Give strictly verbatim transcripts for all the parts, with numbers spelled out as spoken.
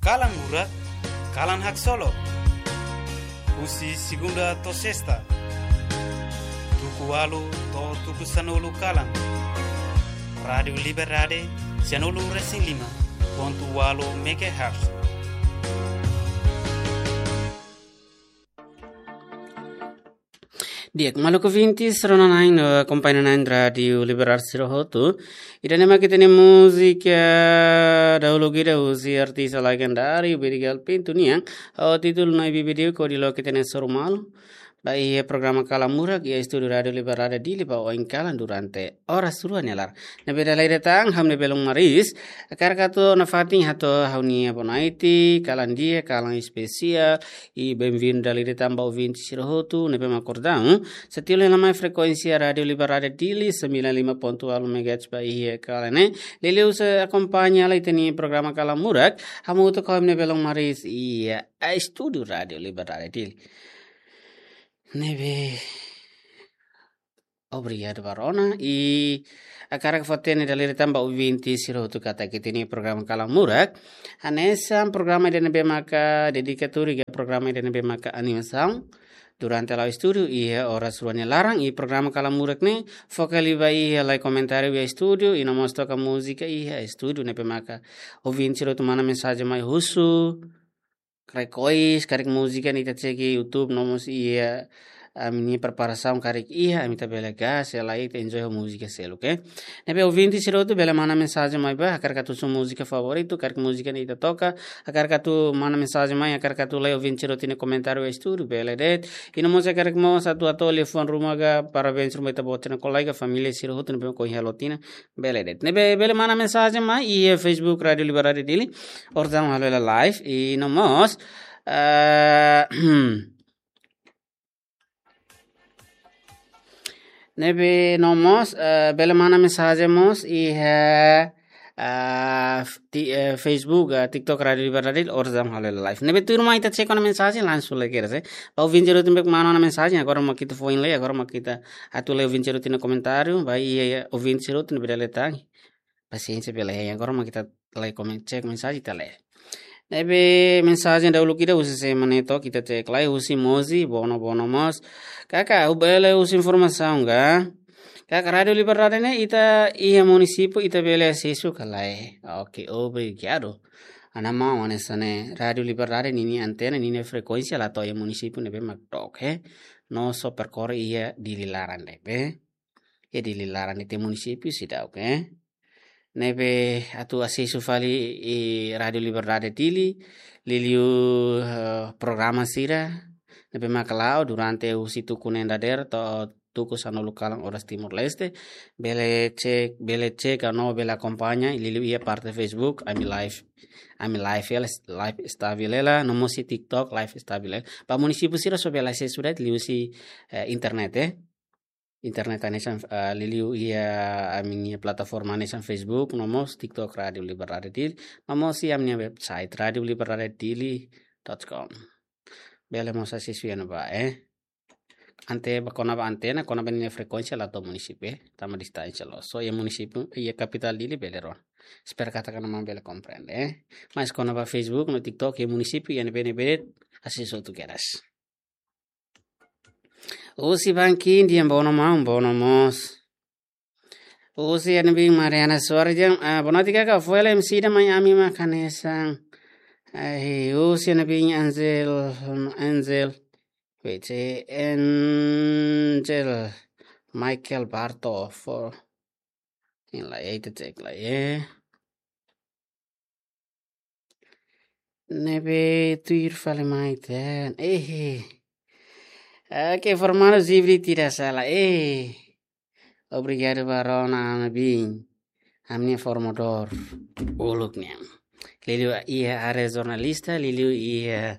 Kalan Murak, kalan haksolok. Husi segunda to'o sesta, tuku ualu to'o tuku sanulu kalan. Rádiu Liberdade, sanulu resin lima pontu ualu megahertz. Di'ak, maluk ouvintes, rona-na'in no akompaña-na'in Rádiu Liberdade sira hotu. Ida-ne'e mak ita-nia múzika dahuluk ida husi artista legendáriu Bedigal Pinto nian, ho títulu Nai Bibi Di'ak, hodi loke ita-nia sorumalu ba iha programa Kalan Murak iha estúdiu Rádiu Liberdade Dili ba oin kalan durante oras rua nia laran. Ne'ebé dala ida tan, ha'u-nia belun Maris, hakarak atu nafatin hato'o ha'u-nia bonaiti, kalan di'ak, kalan espesiál, i benvindu dala ida tan ba ouvinte sira hotu, ne'ebé mak kordaun, sei tilu hela mai frekuénsia Rádiu Liberdade Dili, sembilan lima pontu ualu megahertz ba iha kalan ne'e. Liuliu sei akompaña lai ita-nia programa Kalan Murak, hamutuk ho ha'u-nia belun Maris, iha estúdiu Rádiu Liberdade Dili. Ne'ebé obrigadu ba rona, i hakarak fó-hatene dala ida tan ba ouvinte sira hotu katak ita-nia programa Kalan Murak hanesan programa ida ne'ebé maka dedikadu, ka programa ida ne'ebé maka animasaun durante la'o estúdiu iha oras rua nia laran, i programa Kalan Murak ne'e foka liu ba iha lai komentáriu iha estúdiu, i no mós toka múzika iha estúdiu, ne'ebé maka ouvinte sira hotu manda mensajen mai husu, karik ois, karik múzika ne'e ita cek iha YouTube, no mós iha ami-nia preparasaun karik iha, ami ita bele gas, sei la ita enjoy ho múzika seluk, eh. Ne'ebé ouvinte sira hotu bele manda mensajen mai ba, hakarak atu husu múzika favoritu, karik múzika ne'e ita toka, hakarak atu manda mensajen mai, hakarak atu lee ouvinte sira hotu nia komentáriu estúdiu, bele de'it. I no mós hakarak mós atu hato'o liafuan ruma ka parabéns ruma ita-boot sira-nia kolega, família sira hotu ne'ebé ohin halo tinan, bele de'it. Ne'ebé bele manda mensajen mai iha Facebook Rádiu Liberdade Dili, oras daudaun halo hela live, i no mós, eh, ne'ebé no mós, eh, bele manda mensajen mós iha, eh, f-, ti-, eh, Facebook, eh, TikTok Rádiu Liberdade Dili, oras daudaun halo hela live. Ne'ebé tuirmai ita cek ona mensajen, langsung lee kedas, eh. Ba ouvinte sira hotu ne'ebé manda ona mensajen, agora mak ita foin lee, agora mak ita atu lee ouvinte sira hotu nia komentáriu, ba iha, iha ouvinte sira hotu ne'ebé dala ida tan. Pasiénsia bele, agora mak ita lee komen-, cek mensajen ita lee. Ne'ebé mensajen dahuluk ida husi sé mak ne'e to'o, ita cek lai, husi Mozi, bono, bono mós. Kaka, ha'u bele husu informasaun ka? Kaka, Rádiu Liberdade ne'e ita iha munisípiu ita bele asesu ka lae? Oke, obrigadu. Ana maun, hanesan ne'e, Rádiu Liberdade ninia antena, ninia frekuénsia la to'o iha munisípiu ne'ebé mak dook, eh. No só perkorre iha Dili laran de'it, eh. Iha Dili laran de'it, iha munisípiu seidauk, eh. Ne'ebé atu asesu fali iha Rádiu Liberdade Dili, liuliu, eh, programa sira ne'ebé maka la'o durante husi tuku neen dadeer to'o tuku sanulu kalan oras Timor-Leste, bele cek, bele cek ka no bele akompaña, liuliu iha parte Facebook, ami live, ami live hela, live stabil hela, no mós iha TikTok, live stabil hela. Ba munisípiu sira só bele asesu de'it liuhusi, eh, internet, eh. Internet hanesan, eh, liuliu iha ami-nia plataforma hanesan Facebook, no mós TikTok Rádiu Liberdade Dili, no mós iha ami-nia website rádiu liberdade dili dot com. Bele mós asesu iha ne'ebá, eh. Ante ba kona-ba antena, kona-ba ninia frekuénsia la to'o munisípiu, eh. Tanba distánsia loos. Só iha munisípiu, iha kapitál Dili bele rona. Espera katak ana maun bele komprende, eh. Mas kona-ba Facebook, no TikTok, iha munisípiu, iha ne'ebé-ne'ebé de'it, asesu hotu kedas. Husi Bangkok, di'ak, bono maun, bono mós. Husi iha ne'ebé Mariana Soares dehan, ah, bonatika ka foel M C ida mai ami mak hanesan. Eh, husi iha ne'ebé Angel, Angel. Wait, eh, Angel Michael Barto for. Ini la, eh, ita cek la, eh. Ne'ebé tuir fali mai tan. Eh. Oke, formadu Zivri tidak salah. Eh. Obrigadu ba rona ami-nia biin. Ami-nia formadór uluk nian. Liuliu iha área jornalista, liuliu iha,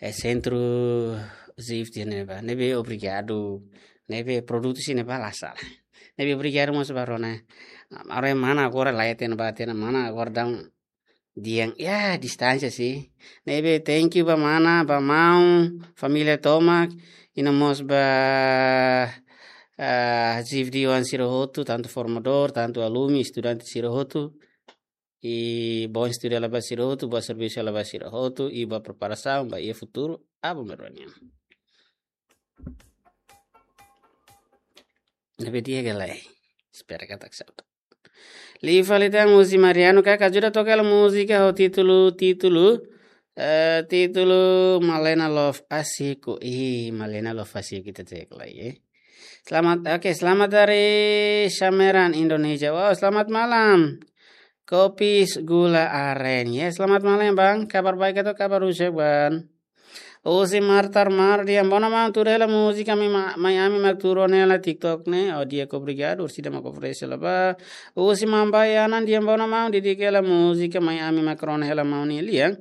eh, sentru Zivri ne'ebá. Ne'ebé obrigadu. Ne'ebé produtu sira-ne'ebá la salah. Ne'ebé obrigadu mós ba rona. Agora mana agora la iha tiha ona ba tiha ona, mana agora daudaun dehan, ya, distánsia sih. Ne'ebé thank you ba mana, ba maun, família tomak, i no mós ba, ah, Zivri oan sira hotu, tantu formadór, tantu alumni, estudante sira hotu. I bom estudu hela ba sira hotu, bom servisu hela ba sira hotu, i bom preparasaun ba iha futuru, aban-bainrua nian. Ne'ebé di'ak ka lae? Espera katak sa'e. Liu fali tan husi Mariano, kaka ajuda toka hela múzika ho títulu, títulu, eh, títulu Malena Love Asiku. Ih, Malena Love Asiku ita cek lai, eh. Selamat, oke, selamat dari Sameran, Indonesia. Wow, selamat malam. Kopi gula aren. Ya, selamat malam, Bang. Kabar baik atau kabar rusak, Bang? Husi Martar Mar dehan, bona maun, tuur hela múzika mai, mai ami mak tuur ona hela TikTok ne'e. Oh, di'ak, obrigadu, orsida mak oferese hela ba. Husi Mambai Anan dehan, bona maun, didik hela múzika mai ami mak rona hela maun nia lian.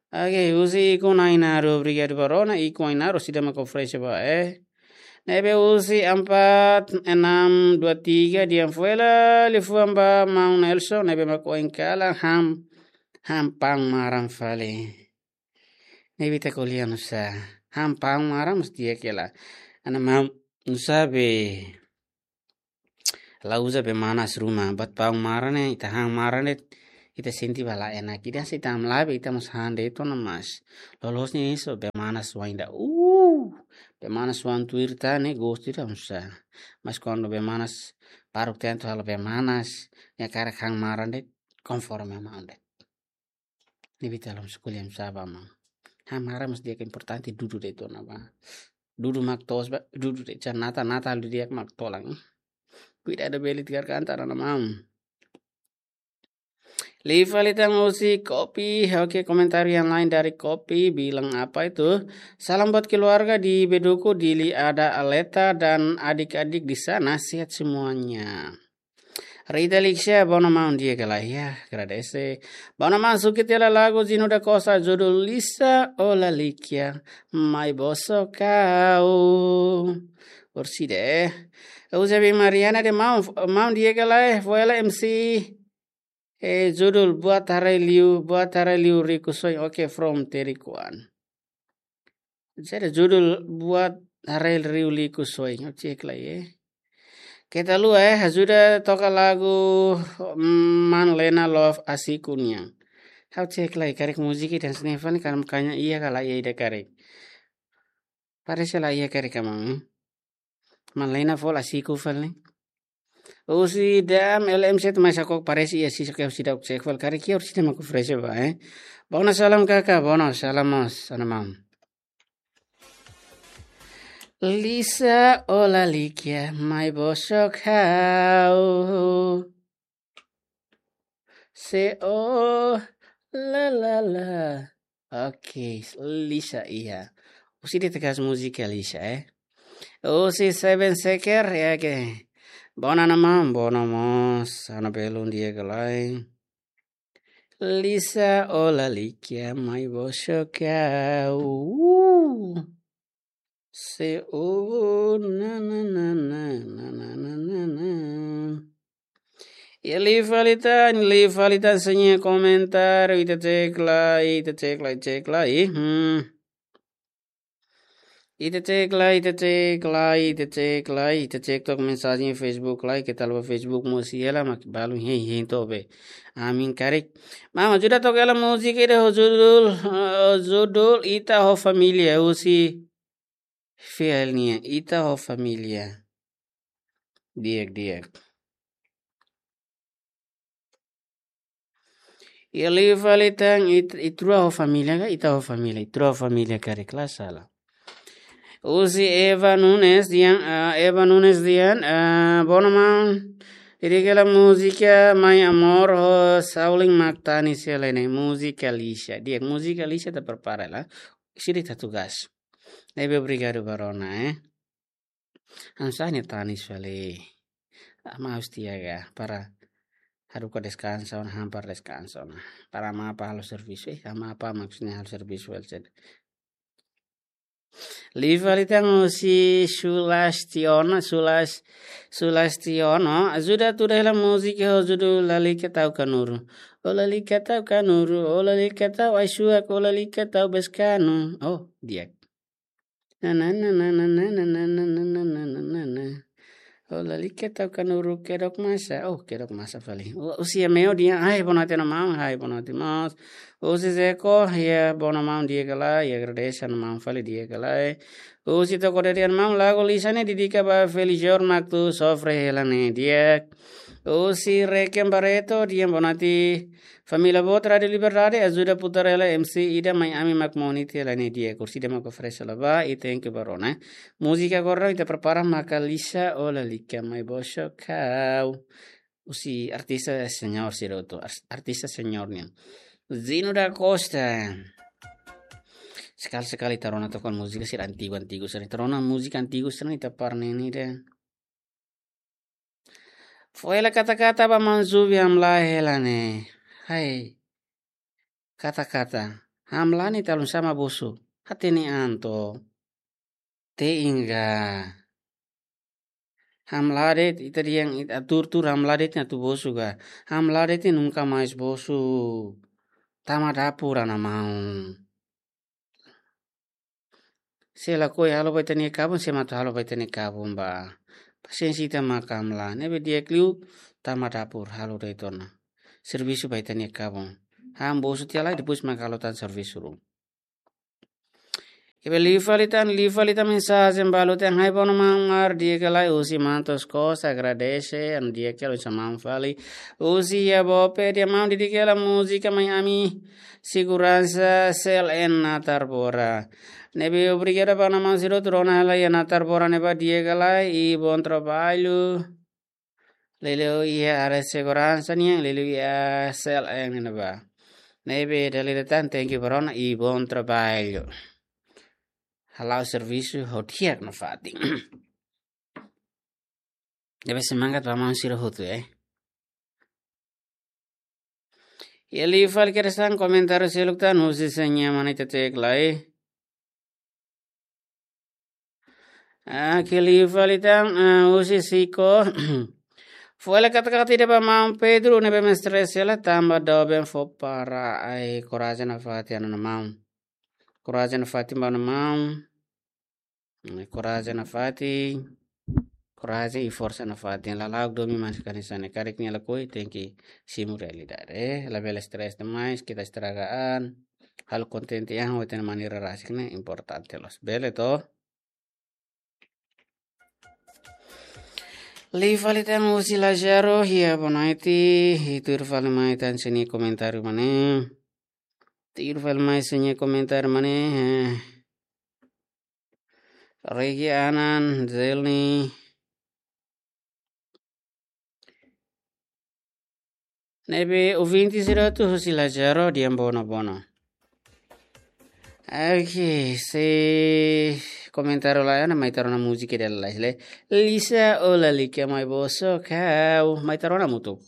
Oke, husi Ikun Ainaro, obrigadu ba rona, Ikun Ainaro, orsida mak oferese ba, eh. Ne'ebé husi empat enam dua tiga dehan, fó hela liafuan ba maun Nelson, ne'ebé mak oin kalan han, han paun maran fali. Ne'ebé ita ko'alia nusá? Han paun maran mós di'ak hela. Ana maun, nusá be la uza bee manas ruma, buat paun maran ne'e, ita han maran de'it, ita sente ba la enak. Ida se ita hamlaha be ita mós han de'it ona, mas loloos ne'e só bee manas oan ida. Uh, bee manas oan tuir tan ne'e gostu ida nusá. Mas kuandu bee manas baruk tentu halo bee manas, nia hakarak han maran de'it, konforme maun de'it. Ne'ebé ita la mós ko'alia nusá ba maun. Han maran mós di'ak, importante dudu de'it ona ba. Dudu mak toos ba, dudu de'it, jan nata, nata halo di'ak mak tolan. Kuidadu bele tigar kantar ana maun. Liu fali tan husi Kopi, oke, komentar yang lain dari Kopi, bilang apa itu? Salam buat keluarga di Beduku, Dili, Ada, Aleta, dan adik-adik di sana, sehat semuanya. Rita Lixia, bona maun, di'ak ka lae? Ya, agradese. Bona maun, sukit hela lagu Zino da Costa, judul Lisa, ó lalika, mai bosok ha'u. Orsida, eh. Eusebio Mariana dehan, maun, maun, di'ak ka lae? Fó hela M C. Eh, judul Buat Haraik Liu, Buat Haraik Liu Rikusoin. Oke, from Terikuan. Jadi judul Buat Haraik Liu Rikusoin. Ha'u cek lai, eh. Keta haluha, eh, ajuda toka lagu, mm, Malena Love Asiku nian. Ha'u cek lai, karik múzika ida hanesan ne'e fali, kan makanya iha ka lae, iha ida karik. Parese la iha karik ka maun, eh. Malena fó Asiku fali. Husi Dam L M Z mai Sakok, parese iha sisa ke orsida cek fali, karik iha orsida mak oferese ba, eh. Bona salam kaka, bona salam mós, ana maun. Lisa, ó lalika, mai bosok ha'u. Se ó la la la. Oke, Lisa iha. Orsida ita kaer múzika Lisa, eh. Husi Seven Seker, ya ke. Bona ana maun, bona mós, ana belun, di'ak ka lae? Lisa, ó lalika, mai bosok ha'u. Se ó, na, na, na. Ya, liu fali tan, liu fali tan, señor komentar, ita cek lai, ita cek lai, cek lai. Hmm. Ita cek lai, ita cek lai, ita cek lai, ita cek took mensajen Facebook lai, keta haluha Facebook mós iha hela, mak balu hein hein to'o be. Amin karik. Maun, ajuda toka hela múzika ida ho judul, eh, judul Ita ho Família, husi Fiel nian, Ita ho Família. Di'ak, di'ak. Ya, liu fali tan It-, Ita Rua ho Família ka, Ita ho Família, Ita Rua ho Família karik, la sala. Husi Eva Nunes dehan, ah, Eva Nunes dehan, ah, bona maun, didik hela múzika Mai Amor ho Saulin mak tanis hela ne'e, múzika Lisa. Di'ak, múzika Lisa ita prepara lai. Orsida ita tugas. Ne'ebé obrigadu ba rona, eh. Hanesan ne'e tanis fali. Ama harus tiaga para haruka deskansa ona, han para deskansa ona. Para ama apa halo servisu, eh, ama apa maksudnya halo servisu, well said. Liu fali tan husi Sulastiono, Sulas-, Sulastiono, ajuda tuur hela múzika ho judul Lalika Tau Kanuru. Ó lalika tau kanuru, ó lalika tau ai-suak, ó lalika tau beskanu. Oh, di'ak. Na, na, na. Ó lalika tau kanuru kedok masa. Oh, kedok masa fali. Ó, husi Ameo dehan, hai, boa noite, maun, hai, boa noite, mós. Husi Zeko, iha, boa noite, maun, di'ak ka lae, iha, agradese, maun, fali, di'ak ka lae. Husi Toko Derian, maun, lagu Lisa ne'e dedika ba Felijor mak atu sofre hela ne'e, di'ak. Husi Rekem Barreto, dehan, boa noite, família boot Rádio Liberdade, ajuda putar hela M C ida mai ami mak monitor hela ne'e, di'ak, kursi ida mak oferese hela ba, i thank you ba rona. Múzika agora ita prepara maka Lisa Ó Lalika Mai Bosok Ha'u. Husi artista senior sira hotu, ars-, artista senior nian. Zino da Costa. Sekali-sekali ita rona tokoh múzika sira antigu-antigu sira. Ita rona múzika antigu sira ita parneni de. Foin hela kata-kata ba maun Zubi hamlaha hela ne'e. Hai. Kata-kata. Hamlaha ne'e ita la hanesan ema bosu. Hatene an to. Te inga. Hamlaha de'it, ita dehan, it-, atu tuur, hamlaha de'it atu bosu ka. Hamlaha de'it nunka mais bosu. Tama dapur ana maun. Se lakohi halo ba ita-nia kabun, se mak atu halo ba ita-nia kabun ba. Pasiénsia ita mak hamlaha. Ne'ebé di'ak liu, tama dapur, halo de'it ona. Servisu ba ita-nia kabun. Ha'u bosu tiha lai, depois mak halo tan servisu ruma. Ne'ebé liu fali tan, liu fali tan mensajen balu tan, hai bono maun, di'ak ka lae, husi Mantos Costa, agradese, an di'ak ka lae, husi maun fali. Husi iha Bope, dehan maun, dedika hela múzika mai ami, seguransa C L N Natar Bora. Ne'ebé obrigadu ba maun sira hotu rona hela iha Natar Bora ne'ebá, di'ak ka lae, i bom trabalho. Liuliu iha área seguransa nian, liuliu iha C L N ne'ebá. Ne'ebé dala ida tan, thank you ba rona i bom trabalho. Hala'o servisu ho di'ak nafatin. Ne'ebé semangat ba maun sira hotu, eh. Iha liu fali keresan komentáriu seluk tan, husi Seña Manita Tek Lai. Ah, iha liu fali tan, ah, husi Siko. Foin hela kata-kata ida ba maun Pedro, ne'ebé mestre sela tanba doben fó para ai korajen nafatin ona maun. Korajen nafatin ba ona maun. Korajen nafatin. Korajen i forsa nafatin. Lala'ok domin manas ka hanesan ne'e. Karik nia lakohi tenke simu realidade. Eh, labele stress demais, kita estraga an. Halo kontente an ho ita-nia maneira rasik ne'e importante loos. Bele to? Liu fali tan husi Lazaro, iha boa noite, i tuir fali mai tan sira-nia komentáriu mak ne'e. Tuir fali mai sira-nia komentáriu mak ne'e, eh. Regi Anan, Zelni. Ne'ebé ouvinte sira hotu husi Lazaro dehan bono bono. Oke, se komentáriu lae, mai ita rona múzika ida lalais lai. Lisa Ó Lalika Mai Bosok Ha'u, mai ita rona hamutuk.